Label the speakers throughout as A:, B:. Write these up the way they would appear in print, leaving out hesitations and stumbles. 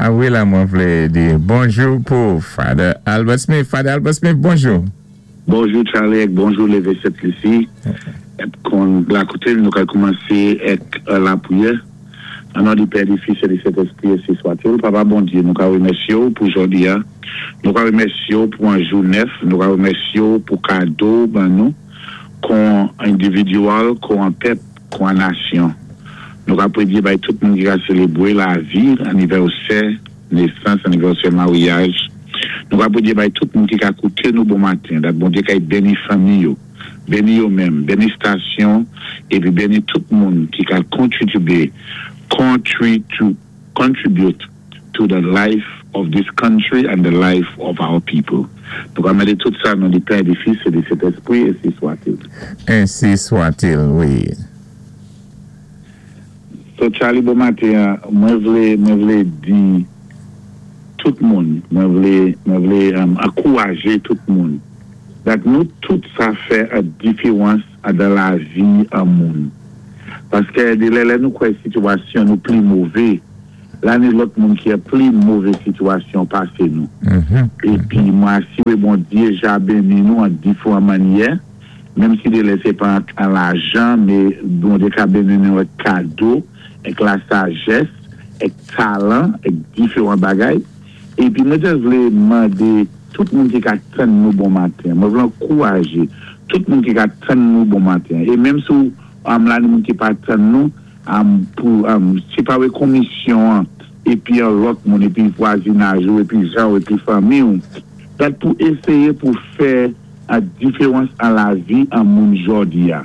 A: A wi la mwen vlé di bonjou pou Father Albert Smith. Father Albert Smith, bonjou.
B: Bonjou Charly èk bonjou Leve Sent Lisi èk kon la koute nou kal koumansé èk lapriyè an non di Pè di Fis è di Sentespri ensi swatil Papa Bondye nou ka remèsye w pou jòdi a nou ka remèsye w pou an jou nèf nou ka remèsye w pou kado w ban nou kon endividyal kon an pèp kon an nasyon nou ka predye bay tout moun ki ka selebwe lavi anivèsè nesans anivèsè maryaj nou ka predye bay tout moun ki ka koute nou bon maten dat Bondye kay beni fanmi yo beni yo menm beni stasyon epi beni tout moun ki ka kontritibe contribute to the life of this country and the life of our people nou ka mande tout sa nan di Pè di Fis e di Sentespri ensi swatil.
A: Ensi swatil wi.
B: So Charly bon maten an mwen vle mwen vle di tout moun mwen vle mwen vle ankouraje tout moun dat nou tout sa fè an diferans andan lavi an moun paskè de lè lè nou kwè sitiyasyon nou pli move la ni lòt moun ki an pli move sitiyasyon pase nou epi mwen asire Bondye ja beni nou an diferan mannyè. Menm si delè se pa an lajan me Bondye ka beni nou ak kado, ak la sajès, ak talan, ak diferan bagay. Epi mwen just vle mande tout moun ki ka tann nou bon maten. Mwen vle ankouraje tout moun ki ka tann nou bon maten. E menm si w la ni moun ki pa tann nou pou se pa wè komisyon an epi an lòt moun epi vwazinaj ou epi jan w epi fanmi w dat pou eseye pou fè Ak diferans an lavi an moun jòdi a.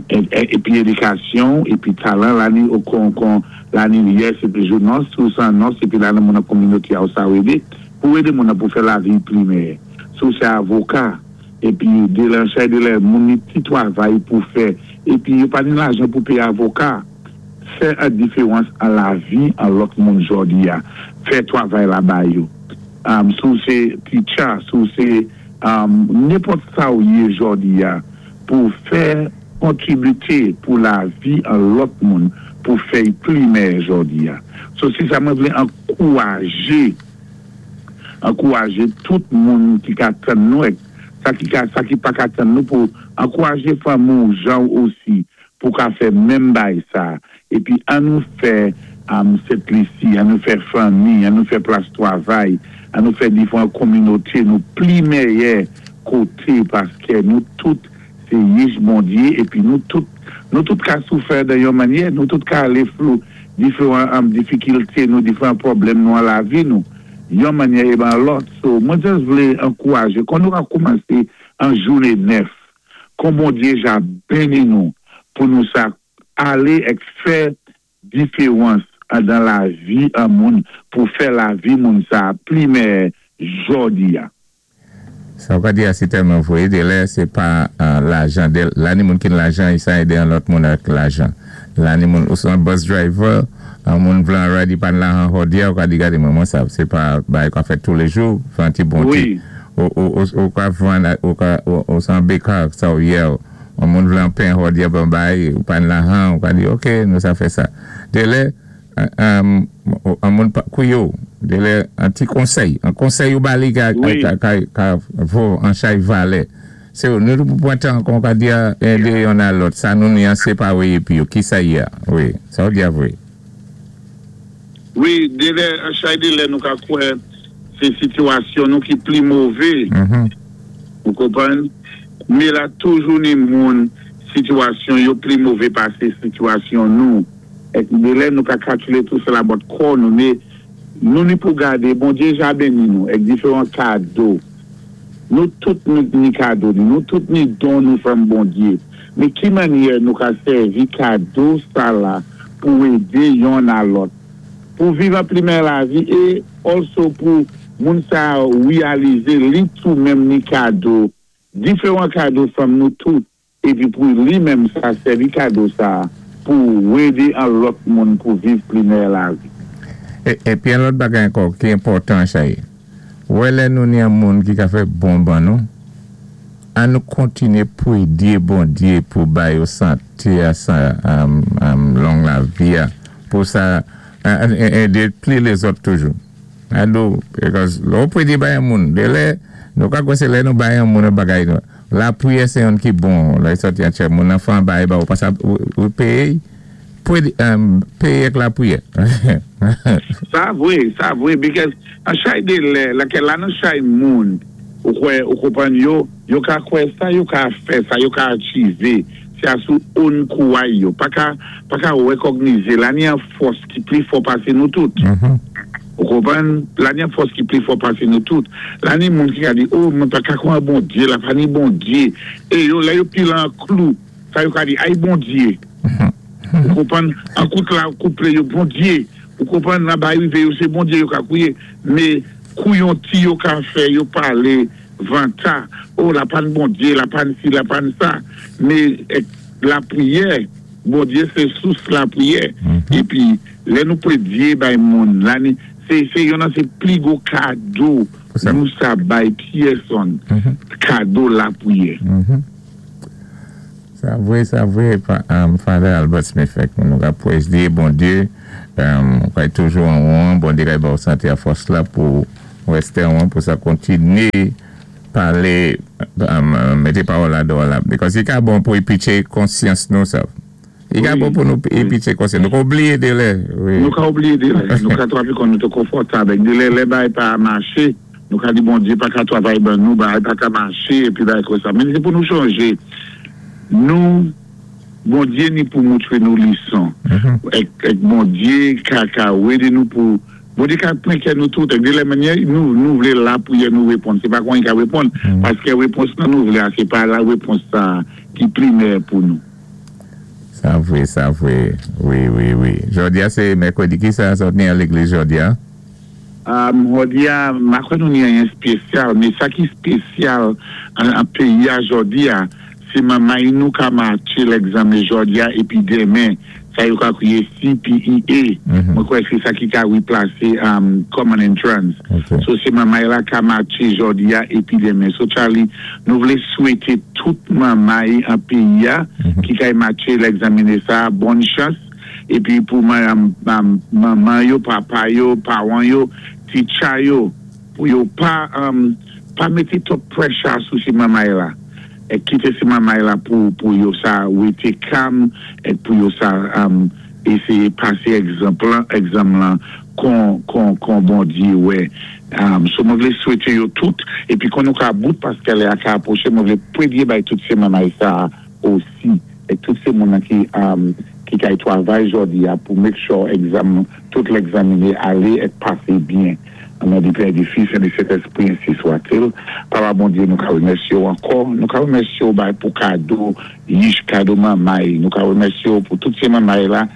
B: Epi edikasyon, epi talan la ni kon kon la ni yes epi jou nòs, si w se an nòs epi la nan moun nan kominote a ou sa w ede, pou w ede moun nan pou fè lavi pli meyè. Si w se avoka, epi de lè an chay de lè moun ni ti twavay pou fè, epi yo pa ni lajan pou peye avoka, fè an diferans an lavi an lòt moun jòdi a, fè twavay la ba yo. Si w se teacher, si w se nenpòt sa w ye jòdi a, pou w fè kontribite pou lavi an lòt moun pou fè y pli mèyè jòdi a. So se sa mwen vle ankouraje, ankouraje tout moun ki ka tann nou ak sa ki ka, sa ki pa ka tann nou pou ankouraje fanmi w jan w osi pou ka fè menm bay sa epi an nou fè Sent Lisi, an nou fè fanmi, an nou fè plas twavay, an nou fè difran kominote nou pli mèyè kote paskè nou tout se yich Bondye epi nou tout nou tout ka soufè dan yon mannyè nou tout ka ale flou diferan difikilte nou diferan pwoblèm nou an lavi nou yon mannyè e ban lòt so mwen just vle ankouraje kon nou ka koumanse an joune 9 Kon Bondye ja beni nou pou nou sa ale ek fè diferans andan lavi an moun pou fè lavi moun sa pli mèyè jòdi a.
A: Sa ou ka di a se tèlman vre de lè se pa lajan de la ni moun ki n lajan e sa ede an lòt moun ak lajan la ni moun ou se an bus driver an moun vle an ride li pa n lajan hòdi a ou ka di gade mwen mwen sa se pa bagay ou ka fè toulejou fè an ti bon ti Ou ka vann ou ka ou se an baker sa ou ye on moun vle an pen hòdi an bay ou pa n lahan ou ka di ok nou sa fè sa delè an moun pa kouye w delè an ti konsèy an konsèy ou ba li ka ka vo an chay valè se nou tou pou pran tan kon ka di a ede yonn a lòt sa nou ni an se pa wi epi yo kisa ye a wi sa ou di a vre.
B: Wi delè an chay delè nou ka kwè se sitiyasyon nou ki pli move ou konprann me la toujou ni moun sitiyasyon yo pli move pase sitiyasyon nou ek delè nou ka kalkile tou se la bòt kò nou me nou ni pou gade Bondye ja beni nou ek diferan kado nou tout nou ni kado nou nou tout ni don nou fèm Bondye me ki mannyè nou ka sèvi kado sa la pou ede yonn a lòt pou viv an pli mèyè lavi e also pou moun sa reyalize li tou menm ni kado diferan kado fanm nou tout epi pou li menm sa sèvi kado sa pou ede an lòt moun pou viv pli mèyè lavi.
A: Epi yon lòt bagay ankò ki enpòtan Chay, wè lè nou ni yon moun ki ka fè bon ban nou, an nou kontinye pwedye Bondye pou ba yo sante a sa long lavi a pou sa. Édé pli lézòt toujou. A do, because lè ou prédé bay an moun, dé lè, nou ka kwè sé lè nou bay an moun an bagay nou. Lapwiyè sé youn ki bon, lè sòti an tchè moun nan fè an bagay ba ou, pasa ou péyé, prédé, péyé ak lapwiyè.
B: Sa vwé, sa vwé, because an chay dé lè, lakè la nan chay moun, ou kwè, ou konpwann yo, yo ka kwè sa yo ka fè, sa yo ka achivé, sé a sou own kouway yo, pa ka, pa ka wèkògnizé la ni an fòs ki pli fò pasé nou tout. Ou konpwann? La ni an fòs ki pli fò pasé nou tout. La ni moun ki ka di, oh, mwen pa ka kwè an Bondyé, la pa ni Bondyé. É yo, lè yo pile an klou, sa yo ka di, ay Bondyé. Ou konpwann? An kout la kouplé yo, Bondyé. Ou konpwann? La bay rivé yo, sé Bondyé yo ka kwiyé. Mé kou yon ti yo ka fè, yo palé vanta, oh, la pa n Bondyé, la pa n si, la pa n sa. Mé lapriyè, Bondye se sous lapriyè. Épi lè nou prédyé bay moun, la ni, sé, sé yonn nan sé pli gwo kado nou sa bay pyèsonn, kado lapriyè.
A: Sa vwé, sa vwé, Father Albert Smith fè nou ka pwédyé Bondye, ou kay toujou an won, Bondye kay ba ou santé a fòs la pou rèsté an won pou sa kontinyé palé, mété pawòl la dò la, because i ka bon pou i pitché konsyans nou sa. I ka bon pou nou i pitché konsyans. Nou ka oubliyé dé lè.
B: Nou ka oubliyé dé lè. Nou ka twavay kon nou té konfòtab. Dé lè, lè bagay pa maché, nou ka di Bondye pa ka twavay ban nou, bagay pa ka maché, épi bagay kon sa. Men sé pou nou chonjé, nou, Bondye ni pou moutré nou lison. Èk, èk Bondye ka, ka wédé nou pou, Bondye ka pran kè nou tout. Èk dé lè mannyè nou, nou vlé lapriyè nou réponn, sé pa kon i ka réponn, paskè répons lan nou vlé a, sé pa la répons sa a ki pli mèyè pou nou.
A: Sa vwé, sa vwé, wi, wi, wi. Jòdi a sé mèkrèdi, ki sa sa ou t ni al légliz jòdi a?
B: Jòdi a, m pa kwè nou ni anyen spésyal, men sa ki spésyal an péyi a jòdi a, sé manmay nou ka matché lègzanmen jòdi a épi denmen, sa yo ka kwiyé CPEA, mwen kwè sé sa ki ka replasé Common Entrance. So sé manmay la ka matché jòdi a épi denmen. So Charly, nou vlé swété tout manmay an péyi a ki kay matché lègzanmine sa a bòn chans. Epi pou manman yo, papa yo, pawan yo, teacher yo, pou yo pa pa mété twòp pressure sou si manmay la. Èk kité si manmay la pou pou yo sa wété calm èk pou yo sa éséyé pasé egzanp lan egzanm lan kon kon kon Bondyé wè. So mwen vlé swété yo tout epi kon nou ka bout paskè lè a ka apwoché mwen vlé pwédyé bay tout si manmay sa osi. E tout sé moun nan ki ki kay twavay jòdi a pou make sure egzam tout lègzamine alé et pasé byen. An non di Pè, di Fis e di Sentespri ensi swatil. Papa Bondye nou ka remèsye w ankò, nou ka remèsye w bay pou kado yich, kado manmay, nou ka remèsye w pou tout sé manmay la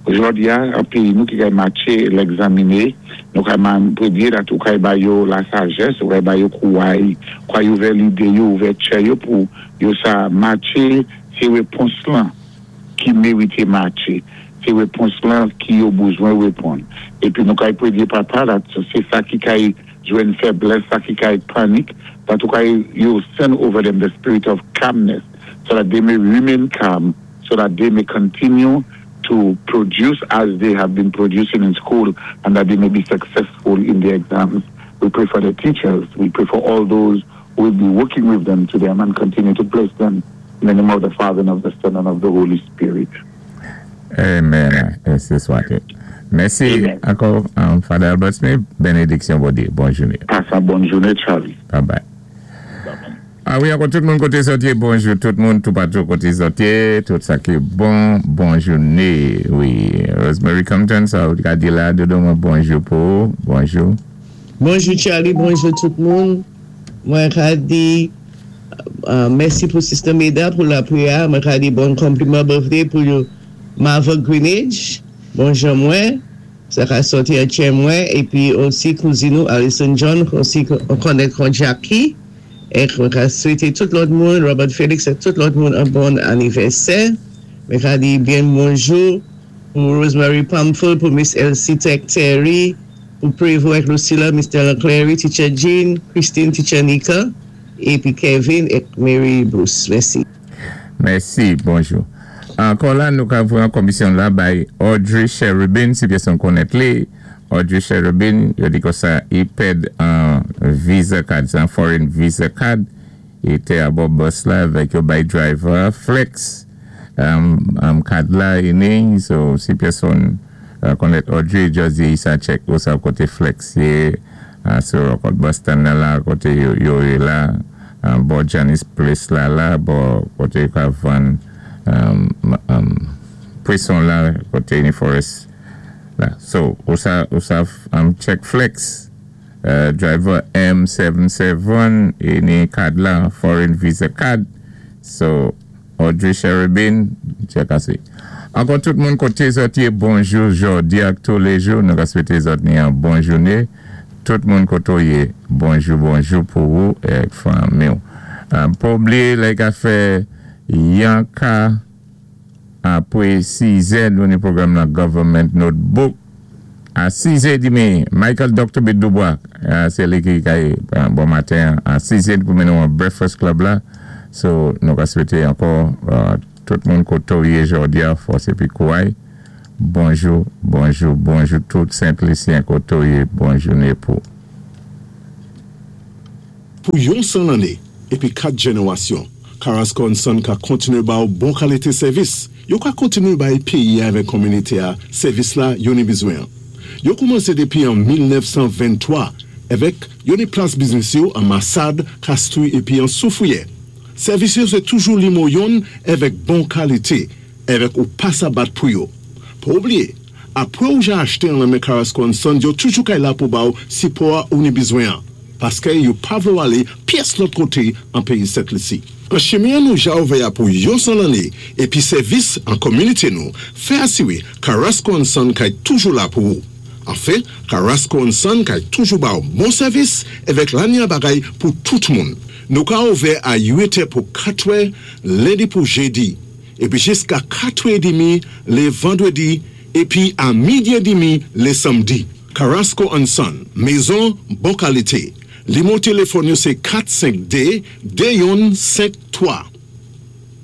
B: jòdi a an peyi nou ki kay matche lègzamine, nou kay premye dat ou kay ba yo la sajès, ou kay ba yo kouway, kouay ouvè lide yo, ouvè tchè yo pou yo sa matche Se repons lan ki merite matche. Se repons lan ki yo bouzwen reponn. Epi nou kay premye papa la, se sa ki kay jwenn fèblès, sa ki kay panik, that ou kay yo send over them the spirit of calmness so that they may remain calm, so that they may continue to produce as they have been producing in school and that they may be successful in their exams. We pray for the teachers, we pray for all those who will be working with them to them and continue to bless them. In the name of the Father and of the Son and of the Holy Spirit.
A: Amen. Ensi swate. Mèsi ankò, Father Albert Smith. Benediksyon Bondye. Bòn jounen.
B: Pase yon bòn jounen, Charlie.
A: Bye bye. A wi, ankò tout moun koté zòt yé, bonjou tout moun toupatou koté zòt yé, tout sa ki bon, bon jouné. Wi, Rosemary Compton, sa ou ka di la, dodo mwen bonjou pou ou, bonjou.
C: Bonjou Charlie, bonjou tout moun. Mwen ka di mèsi pou Sister Meda pou lapriyè a. Mwen ka di bon konpliman birthday pou Marva Greenidge, bon jan mwen, sa ka sòti an tchè mwen, epi osi kouzin ou Alison John, osi konnèt kon Jackie. Ek mwen ka swete tout lòt moun, Robert Felix ak tout lòt moun an bon anivèsè. Mwen ka di byen bonjou pou Rosemary Pamphile, pou Miss Elsie Tech Terry, Pou Prevo ak Lucilla, Mister Clary, Teacher Jean, Christine, Teacher Nika, epi Kevin ak Mary Bruce. Mèsi.
A: Mèsi, bonjou. Ankò la nou ka voyé an komisyon la bay Audrey Cherubin, si pèsonn konnèt li. Audrey Cherubin, yo di konsa i pèd an visa card, sé an foreign visa card, i té abò bus la avèk yo bay driver flex card la ini. So si pèsonn konnèt Audrey, just di i sa check ou sa koté flex yé sou kòt bus stand nan la koté yo yé la bò Janice Place la la bò koté yo ka vann pwéson la koté Uniforest la. So ou sa check flex driver M77 ini card la, foreign visa card. So Audrey Cherubin, check asé. Ankò tout moun koté zòt yé, bonjou jòdi ak tou lé jou. Nou ka swété zòt ni an bon jouné. Tout moun koto yé, bonjou bonjou pou ou ek fanmi ou. Pa blié lè ka fè yon ka apwé 6 è nou ni pwogram la Government Notebook. A 6 è dimi, Michael Dr. B. Dubois, sé li ki kay bon maten a 6 è pou mennen an Breakfast Club la. So nou ka swété ankò tout moun koto yé jòdi a fòs épi kouway. Bonjou, bonjou, bonjou tout Sent Lisyen koto yé, bon jouné pou.
D: Pou yon san lanné épi 4 jénéwasyon, Carrasco Son ka kontiné ba ou bon kalité sèvis. Yo ka kontiné bay péyi avèk kominité a sèvis la yo ni bizwen. Yo koumansé dépi an 1923 avèk yo ni plas biznis yo an Massade, Castries épi an Soufrière. Sèvis yo sé toujou nimewo youn avèk bon kalité avèk ou pa sa bat pou yo. Pa oublié, apwé ou ja achté an lan men Carrasco Son, yo toujou kay la pou ba ou sipò a ou ni bizwen an. Paské yo pa vlé ou alé pyès lòt koté an péyi Sent Lisi. An chimen nou ja ouvè a pou yon san lanné épi sèvis an kominité nou, fè asiwé Carrasco Son kay toujou la pou ou. Anfen, Carrasco Son kay toujou ba ou bon sèvis avèk lanya bagay pou tout moun. Nou ka ouvè a 8 pou 4 lendi pou jédi, épi jiska 4 dimi lé vandwédi, épi a midi dimi lé sanmdi. Carrasco Son, mézon bon kalité. Nimewo téléfòn yo sé 452 2153.